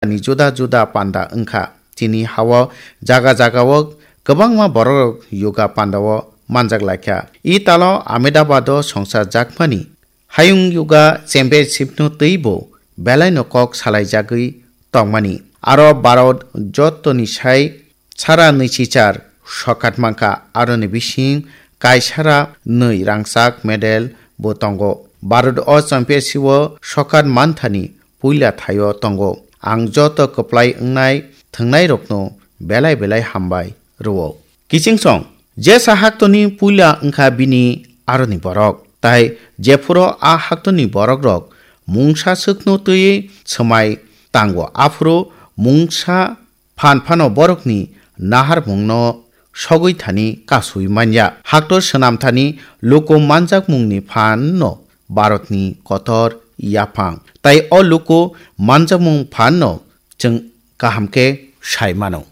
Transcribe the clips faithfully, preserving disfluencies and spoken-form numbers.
ni juda juda panda wngkha. Chini hao jaga jagao kwbangma borok yoga pandao manjak laikha. Italo Ahmedabado songchajak mani Hayung Yoga Championship no twibo belaino kok salaijagwi tongmani. Aro Bharat jottoni sai sara nwichichar sokat mankha, aroni bising kaisara nwi rangchak medal bo tongo. Bharat o championship o sokat manthani puila thaio tongo. Ang joto kwplai wngnai thwngnairokno belai belai hambai rwo. Kichingsong, jesa haktoni puila wngkha bini aroni borok, tai jephuru a haktoni borokrok mungsa swkno twiwi swmai tango, aphuru mungsa phan phano borokni naharmungno sogwi thani kasui manya. Haktor swnam thani luku manjakmungni phanno Bharatni kotor yaphang, tai o luku manjakmung phanno chwng kaham khe sai mano.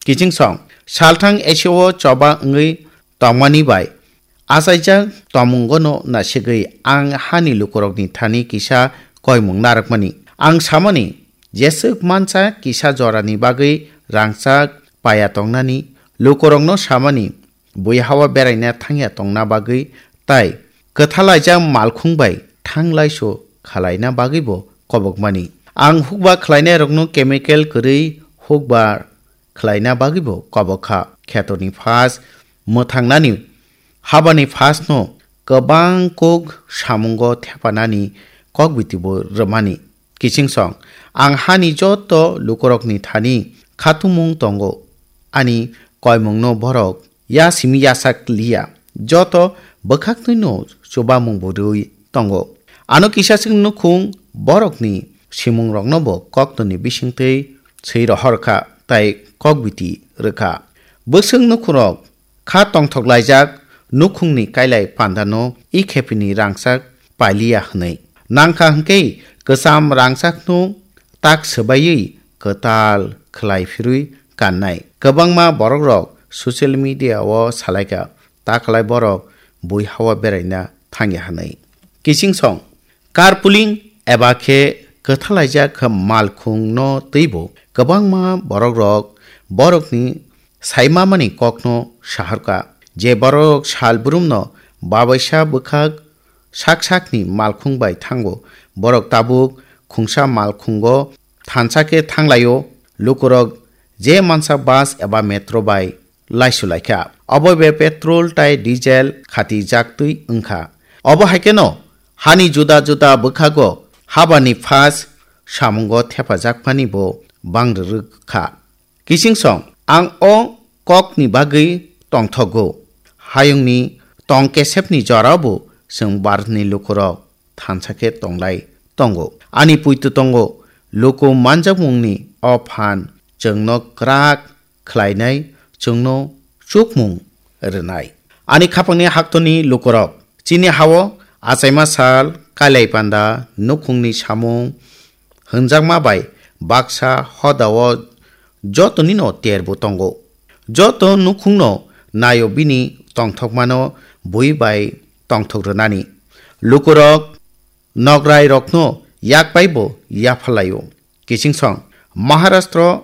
Kichingsong, salthang Asia o choba wngwi tongmani bai achaijak tongmungono nasigwi ang hani lukurokni thani kisa koimung narwkmani. Ang samani, jeswk mansa kisa jorani bagwi rangchak paya tongnani, lukurokno samani, bui hao beraina thangya tongna bagwi tai kwthalaijak malkhung bai thanglaiso khalaina bagwibo kobokmani. Ang hukba khlainairokno chemical kwrwi hukba khlaina bagwibo kobok kha. Khetorni phas mwthangnani habani phasno kwbang kok samungo thepanani kokbitibo rwmani. Kichingsong, ang hani joto lukurokni thani khatumung tongo, ani koimungno borok ya simi yasak liya, joto bwkhaktwino chubamung bo rwi tongo. Ano kisaswk nukhung borokni simungroknobo koktwni bisingtwi swi rohor kha tai kokbiti rwkha. Bwswk nukhungrok kha tongthok laijak nukhungni kailai pandano i khepini rangchak pailiya hwnwi. Nangkha hwnkhe kwcham rangchakno tak swbaiwi kwtal khlai phirwi kannai. Kwbangma borokrok social media o salaikha, ta khlai borok bui hao beraina thangya hwnwi. Kichingsong, carpooling eba khe kwthalaijak malkhungno twibo kwbangma borokrok borokni saimamani kokno saharkha. Je borok sal brumno babaisa bwkhak sak sakni malkhung bai thango, borok tabuk khungsa malkhungo thansa khe thanglaio. Lukurok je mansa bus eba metro bai laisulaikha, obo be petrol tai diesel khatijaktwi wngkha. Obo hai kheno hani juda juda bwkhago habani phas samungo thepajak phani bo bang rwrwk kha. Kichingsong, ang o kokni bagwi tongthogo. Hayungni tong kesepni jorao bo chwng Bharatni lukurok thansa khe tonglai tongo. Ani puitu tongo, luku manjakmungni o phan chwngno kwrak khlainai, chwngno chukmung rwnai. Ani khapangni haktoni lukurok, chini hao achaima sal, kailai panda, nukhungni samung, hwnjakma bai baksa hodao jotonino terbo tongo. Joto nukhungno naio bini tongthokmano bui bai tongthok rwnani. Lukurok nograirokno yak paibo yaphalaio. Kichingsong, Maharashtra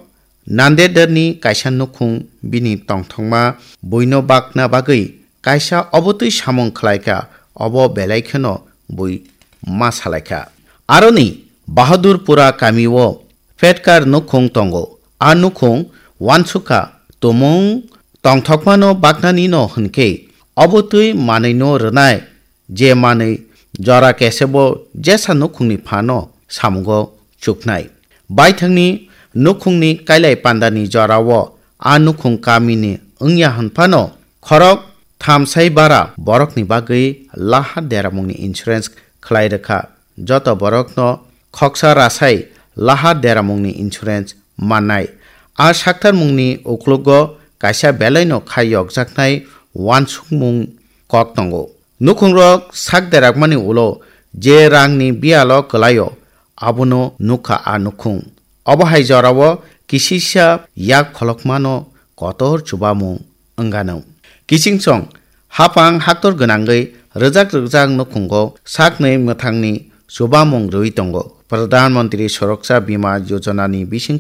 Nandedni kaisa nukhung bini tongthokma buino bakna bagwi kaisa obotwi samung khlaikha, obo belai kheno bui ma salaikha. Aroni Bahadurpura kamio Petkar nukhung tongo. A nukhung uansukha tumung tongthokmano baknanino hwnkhe obotwi manwino rwnai, je manwi jora kesebo jesa nukhungni phano samungo chuknai. Baithangni nukhungni kailai pandani jorao a nukhung kamini wngya hwnphano khorok thamsai bara borokni bagwi lahar deramungni insurance khlai rwkha. Joto borokno khoksa rasai lahar deramungni insurance mannai. A saktarmungni uklogo kaisa belaino khai yokjaknai uansukmung kok tongo. Nukhungrok sak derakmani ulo je rangni biyalo kwlaio, abono nukha a nukhung. Obo hai jorao kisisa yak pholokmano kotor chubamung wngano. Kichingsong hapang haktor gwnangwi rwjak rwjak nukhungo saknwi mwthangni chubamung rwui tongo. Pradhan Mantri Suraksha Bima Yojana ni bising